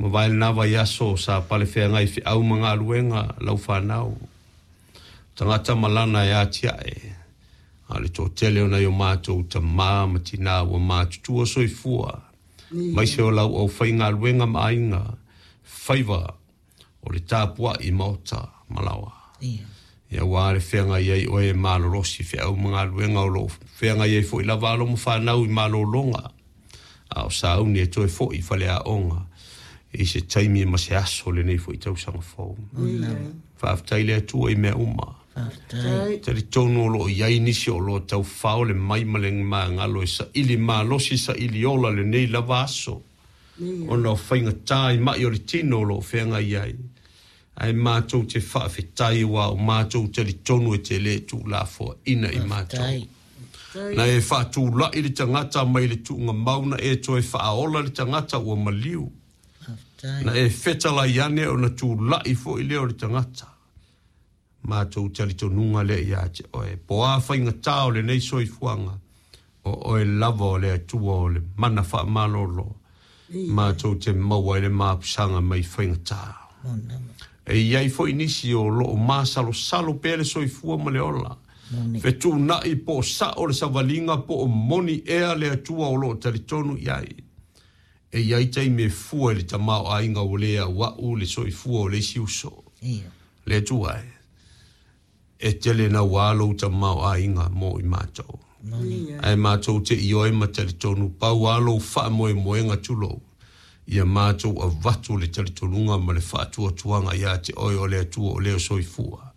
Mavae lena vaiaso sa palefeagai i feau ma galuega lau fanau. Tagata ma lana e atiae, a o le toatele o nai o matou tama ma tina ua matutua soifua, aemaise o lau aufaigaluega ma aiga, faiva o le tapuai i maota ma laoa. Ia aua le feagai ai oe e malolosi i feau ma galuega o lo o feagai ai foi lava alo ma fanau i malologa, a o sauni e toe foi i faleaoga i se taimi ma se aso o lenei foi tausaga fou. Faafetai le Atua i mea uma. Faafetai. Talitonu o lo o i ai nisi o lo o taufao le mai ma le magalo e saili malosi, saili ola lenei lava aso, ona o faigata i mai o le tino o lo o feagai ai. Ae matou te faafetai aua o matou talitonu e te le tuulafoaina i matou. Na e faatulai le tagata mai le tuugamau, na e toe faaola le tagata ua maliu. Na e fetalai ane ona tulai foi lea o le tagata. Matou talitonuga lea ia te oe. Po o a faigata o lenei soifuaga, o oe lava o le Atua o le mana faamalolo. Matou te maua ai le mapusaga mai faigata. E i ai foi nisi o lo o masalosalo pea le soifua ma le ola. Fetuunai po o sao le savaliga po o moni ea le Atua o lo o talitonu i ai. E i ai taimi e fua i le tamaoaiga ua le auau le soifua o le isi uso. Le Atua e, e tele naua lou tamaoaiga mo i matou. Ae matou te ioe ma talitonu pau lava lou faamoemoega tulou, ia matou avatu le talitonuga ma le faatuatuaga ia te oe o le Atua o lea soifua,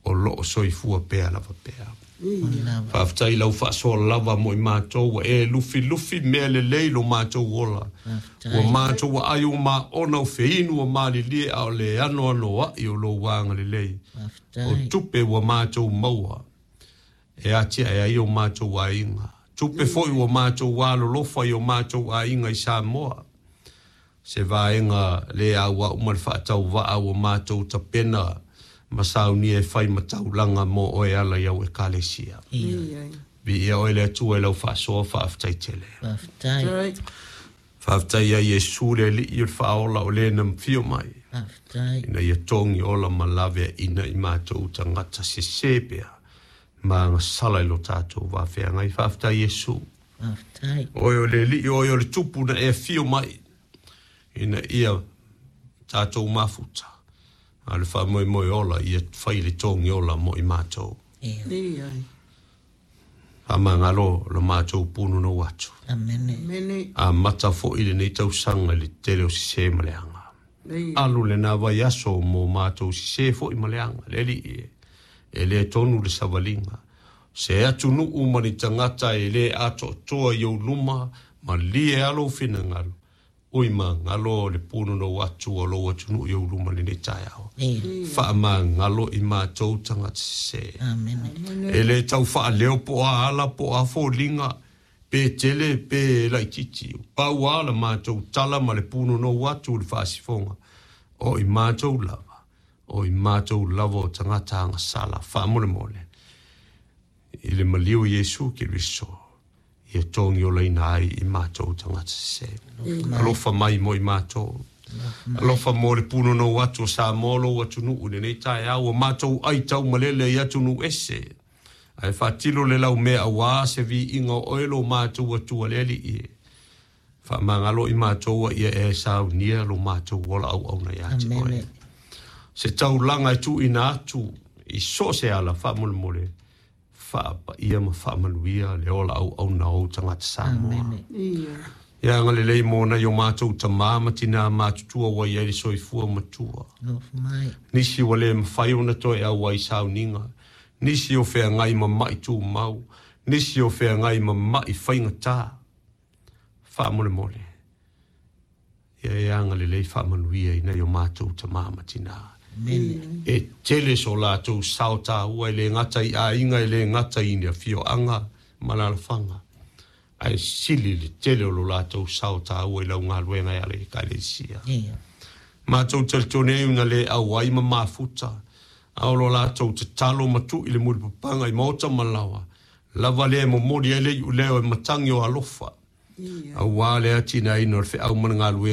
o lo o soifua pea lava pea. Faafetai i lau faasoa lava mo i matou, ua e lufilufi mea lelei lo matou ola. Ua matou aai ua maona o feinu ua malilie a o le anoanoai o lou agalelei. O tupe ua matou maua e atiae ai o matou aiga. Tupe foi ua matou alolofa i o matou aiga i Samoa. Se vaega le auau ma le faatauvaa ua matou tapena ma saunia e fai ma taulaga mo oe e ala i au Ekalesia. Viia oe le Atua i lau faasoa, faafetai tele. Faafetai. Faafetai ia Iesu le Alii o le Faaola o le na fio mai. Faafetai. Ina ia togi ola ma laveaina i matou tagata sese pea ma agasala i lo tatou vafeagai. Faafetai Iesu. Faafetai. Oe o le Alii, oe o le Tupu na e afio mai ina ia tatou mafuta. A o le faamoemoe ola ia fai le togi ola mo i matou. Faamagalo lo matou punonou atu. Amene. Amata foi lenei tausaga i le tele o sese ma leaga. Alu lena vaiaso mo matou sese foi ma leaga. Le Alii e, e le tonu le savaliga. Se atunuu ma ni tagata e le atoatoa i ou luma, malie lava lou finagalo. Ui magalo le punonou atu o lou atunuu i ou luma lenei taeao. Faamagalo i matou tagata sese. Amene. E le tau faaleo po o a ala po o a foliga, pe tele pe laitiiti. Pau lava la matou tala ma le punonou atu i le faasifoga, o i matou lava, o i matou lava o tagata agasala. Faamolemole i le maliu o Iesu Keriso, ia togiolaina ai i matou tagata sese. Alofa mai mo i matou. Alofa mo le punonou atu o Samoa lou atunuu i lenei taeao, ua matou ai taumalele i atunuu ese. Ae faatilo le laumea aua se viiga o oe lo matou Atua le Alii e. Faamagalo i matou a ia e saunia lo matou ola auauna ia te oe. Se taulaga e tuuina atu i so o se ala faamolemole, faapaia ma faamanuia le ola auauna o ou tagata Samoa. Ia agalelei mo nai o matou tama ma tina matutua ua i ai le soifua matua. Nisi ua le mafai ona toe auai sauniga, nisi o feagai ma mai tumau, nisi o feagai ma mai faigata. Faamolemole, ia e agalelei faamanuia i nai o matou tama ma tina. E tele so latou sao taua e le gata i aiga, e le gata i afioaga ma alaalafaga, ae sili le tele o lo latou sao taua i lau galuega e ala i Ekalesia. Matou talitonu ai na le auai ma mafuta, a o lo latou tatalo ma tui le mulipapaga i maota ma laoa, lava lea e momoli ai le iuleo e matagi o alofa, aua le atinaeina o le feau ma le galuega.